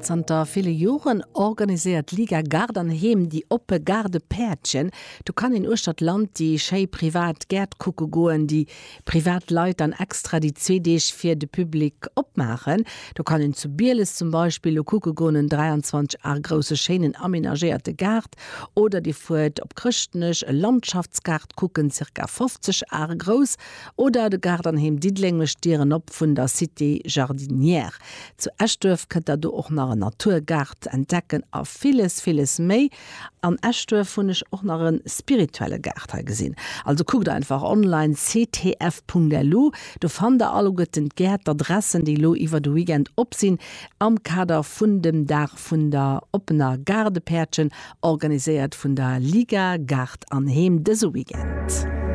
Zanter ville Joren organiséiert d'Liga Gaart an Heem déi oppe Gaardepäerdchen. Do kann een uechter d'Land déi schéi privat Gäert kucke goen, déi privat Leit dann extra déi zwee Deeg fir de Public opmaachen. Do kann een zu Bieles zum Beispill lo kucke goen, en 23 Ar grousse schéinen amenagéierte Gaart. Oder dir fuert op Chrëschtnech e Landschaftsgaart kucken, ca. 50 Ar grouss. Oder de Gaart an Heem Diddeleng mécht d'Dieren op vun der Cité Jardinière. Zu Eschduerf kënnt der do och nach en Naturgaart entdecken a villes, villes méi. An Eschduerf hunn ech och nach e spirituelle Gaart hei gesinn. Also kuckt einfach online ctf.lu, do fannt der alleguerten d'Gäert, d'Adressen, déi elo iwwer de Weekend op sinn am Kader vun dem Dag vun der oppener Gaardepäertchen, organiséiert vun der Liga Gaart an Heem dëse Weekend.